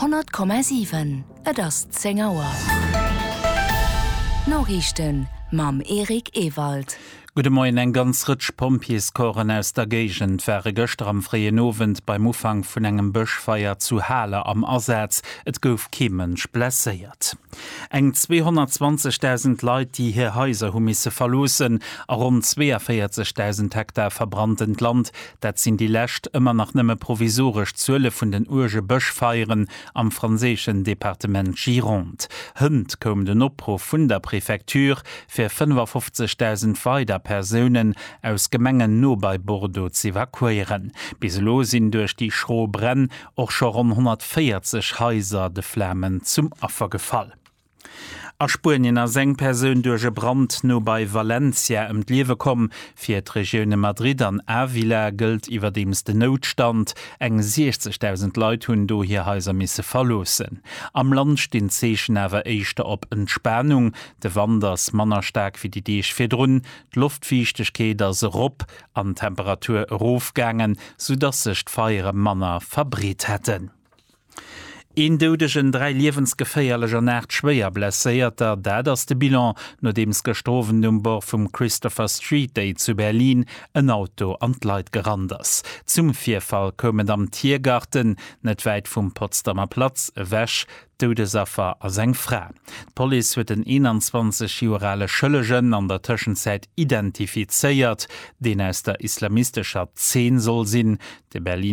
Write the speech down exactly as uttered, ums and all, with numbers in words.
Honnert Komma siwen, Et ass zéng Auer. D'Noriichten mam Eric Ewald. Gudde Moien, Eng ganz Rëtsch Pompjeescorpsen aus der Géigend ware gëschter am fréien Owend beim Ufank vun engem Bëschfeier zu Haler am Asaz. Et gouf kee Mënsch blesséiert. Eng zweehonnertzwanzegdausend Leit, déi hir Haiser hu misse verloossen a ronn zweeënvéierzegdausend Hektar verbranntent Land, dat sinn déi lescht, ëmmer nach nëmme provisoresch Zuele vun den uerge Bëschfeieren am franséischen Departement Gironde. Hënt koum den Opruff vun der Prefecture, fir fënnefafofzegdausend weider Persounen aus Gemengen no bei Bordeaux z'evakuéieren. Bis elo sinn duerch déi schro Bränn och scho ronn honnertvéierzeg Haiser de Flamen zum Affer gefall. A Spuenien ass eng Persoun duerch e Brand no bei Valencia ëm d'Liewe komm. Fir d'Regioune Madrid an Ávila gëllt iwwerdeems den Noutstand. Eng siechzegdausend Leit hunn do hir Haiser misse verloossen. Am Land stinn d'Zeechen awer éischter op Entspanung. De Wand ass manner staark wéi déi Deeg virdrun, d'Loftfiichtegkeet ass erop an d'Temperatur erofgaangen, soudass sech d'Feiere manner verbreet hätten. Een Doudegen, dräi liewensgeféierlech an aacht schwéier Blesséierter, dat ass de Bilan, nodeems gëschter Owend um Bord vum Christopher Street Day zu Berlin en Auto an d'Leit gerannt ass. Zum Virfall koum et am Tiergarten, net wäit vum Potsdamer Platz ewech. D'Doudesaffer ass eng Fra. D'Police huet en eenanzwanzeg Joer ale Schëllegen an der Tëschenzäit identifizéiert, deen aus der islamistescher Zeen soll sinn. De Berliner.